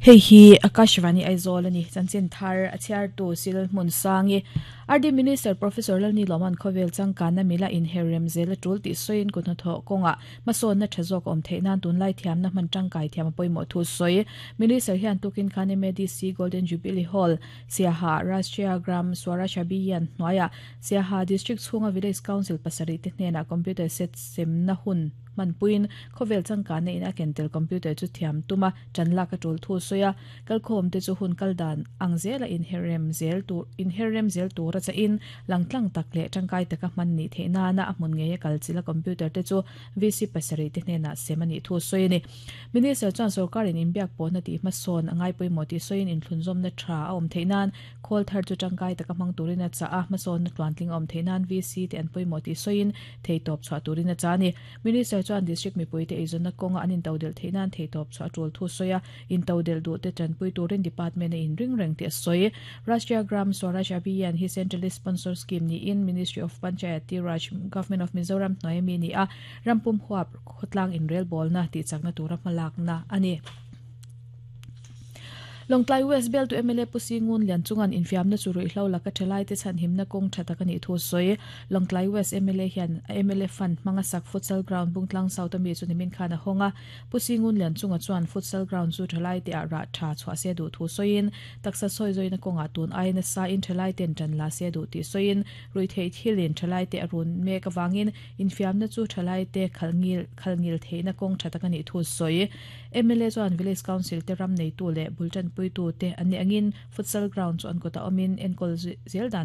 Hei hi Akashvani Aizawl a ni. Chanchin thar a chhiartu Sil Hmunsangi, RD Minister Professor Lalnilawman khawvel changkanna mila inherrem zel a tul tih sawiin kuthnathawh kawngah hmasawnna tha zawk a awm theih nan tunlai thiamna hman tangkai thiam a pawimawh thu sawi. Minister hian tukin khan MADC Golden Jubilee Hall, Siaha, Rashtriya Gram Swaraj Abhiyan hnuaiah Siaha District chhunga Village Council pasarih te hnenah computer set semna hun hmanpuiin khawvel changkanna in a ken tel computer chu thiam tuma ṭan lak a ṭul thu a sawi a, kalkhawm te chu hun kal dan ang zela inherrem zel tur inherrem zel tura chahin langtlang tak leh ṭangkai taka hman nih theih nana a hmun ngeia kal chilh a computer te chu VC pasarih te hnenah sem a nih thu a sawi a ni. Minister chuan sorkarin inbiak pawhna tih hmasawn a ngai pawimawh tih sawiin inthlunzawmna ṭha a awm theih nan khawl thar chu ṭangkai taka hmang turin a chah a, hmasawnna tluantling a awm theih nan VC te an pawimawh tih sawiin theitawp chhuah turin a chah a ni. Minister chuan District mipuite eizawnna kawnga an intodelh theih nan theihtawp chhuah a tul thu sawi a, intodelh duhte tanpui turin Department a inring reng tih a sawi. Rashtriya Gram Swaraj Abhiyan hi Centrally Sponsored Scheme niin Ministry of Panchayati Raj, Government of Mizoram hnuaia mi ni a, rampum huap khawtlang inrelbawlna tihchakna tura hmalakna a ni. Lawngtlai West Bialtu mla Pu Singun Lianchunga'n infiamna chu ruihhlo laka thalaite chhanhimna kawng tha tak a nih thu a sawi. Lawngtlai West mla hian a mla fund hmanga sak futsal ground Bungtlang South ami chu nimin khan a hawng a. Pu Singun Lianchunga chuan futsal ground chu thalaite ah rah tha chhuah se duh thu sawiin, taksa sawi zawina kawngah tun aia nasa in thalaite'n tan la se duh tih sawiin, ruihtheih thilin thalaite a run mek avangin infiamna chu thalaite khalhngil khalhngil theihna kawng tha tak a nih thu sawi. Mla chuan Village Council te ram neitu leh bul tanpuitu te an nih angin futsal ground chu an kutah awmin enkawl zel dan.